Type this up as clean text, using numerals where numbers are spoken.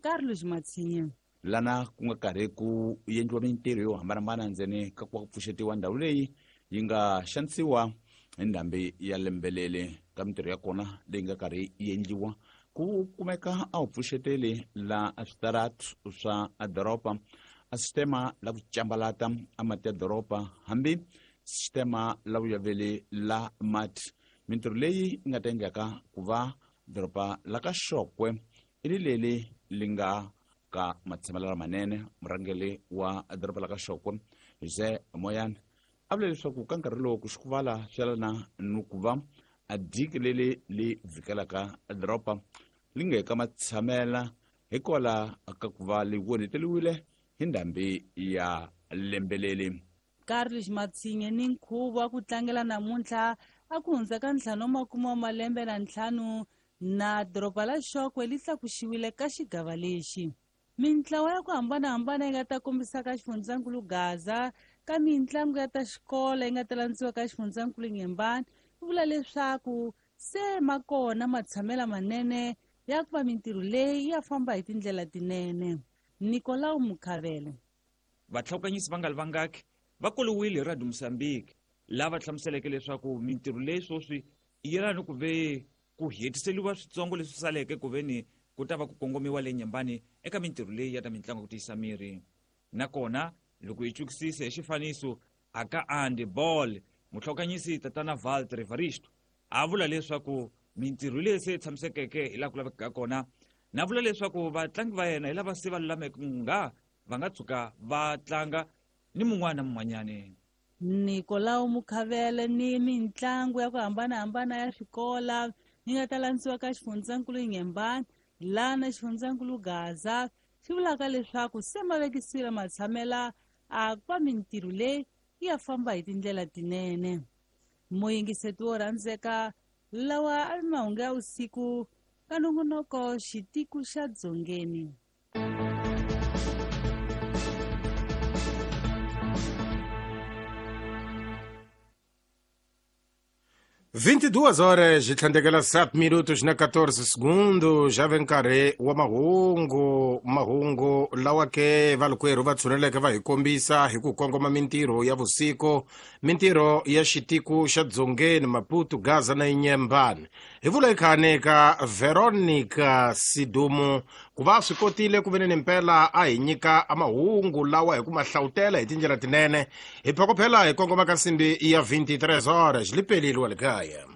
Carlos Matsinye. Lana ku nga karhi ku endliwa mintirho yo hambanahambana ndzeni ka ku pfuxetiwa ndhawu leyi yi nga xanisiwa hi ndhambi ya lembelele. Ka mintirho ya kona leyi nga karhi yi endliwa ku kumeka a wu pfuxeteli la switaratu swa doroba, a sistema la ku cambalata a mati ya doroba, hambi sistema la vuyaveli la mati. Mintirho leyi yi nga ta endlaka ku va doroba la ka Xokwe i ri leli li nga ka matshamelo lamanene. Murhangeri wa doroba la ka Xokwe Jose Moyane a vula leswaku ka nkarhi lowu ku xikuvala swi yelana ni ku va a diki leli li vhikelaka doroba li nge ka matshamela hikwalaho ka ku va li onheteriwile hi ndhambi ya lembeleli. Carlos Matsinye ni nkhuvo wa ku tlangela namuntlha a ku hundza ka 55 wa malembe na 5 na doroba la Xokwe li tlakuxiwile ka xigava lexi. Mintlawa ya ku hambanahambana yi nga ta kombisa ka xifundzankulu Gaza ka mintlangu ya ta xikolo yi nga ta landziwa ka xifundzankulu Nyembani, yi vula leswaku se ma kona matshamela manene ya ku va mintirho leyi ya famba hi tindlela tinene. Nicolau Mukhavele. Vatlhawukanyisi va nga li vangaki va koliwile hi Radio Mozambique lava hlamuseleke leswaku mintirho leyi sweswi yi yelana ni ku ve ku hetiseliwa switsongo leswi saleke ku ve ni ku ta va ku kongomiwa le Nyembani eka mintirho leyi ya ta mintlangu ku tiyisa miri. Nakona loko hi chukisise hi xifaniso a ka Andy Ball, muhlokanyisi tatana Walter Evaristo a vula leswaku mintirho leyi se tshamisekeke hi laha ku lavekaka kona, na vula leswaku vatlangi va yena hi lava se va lulameke nga va nga tshuka va tlanga ni mun'wana na mun'wanyani. Nicolau Mukhavele ni mintlangu ya ku hambanahambana ya swikola yi nga ta landziwa ka xifundzankulu Nyembani lana xifundzankulu Gaza, swi vulaka leswaku se ma vekisile matshamela a ku va mintirho leyi yi ya famba hi tindlela tinene. Muyingiseti wo rhandzeka, lawa a ri mahungu ya vusiku ka nongonoko Xitiku xa Dzongeni. 22 horas tlhandlekela 7 minutos na 14 segundos, já ve nkarhi wa mahungu. Mahungu lawa ke valukwerhu va tshuneleke va hi kombisa hi ku kongoma mintirho ya vusiku, mintirho ya xitiku xa Dzongeni, Maputo, Gaza na Inyembani. Hi vula ikhani ka Veronica Sidumu ku va swi kotile ku veni ni mpela a hi nyika mahungu lawa hi ku ma hlawutela hi tindlela tinene. Hi phokophela hi kongoma ka nsimbi ya 23 horas lipelile wa le kaya.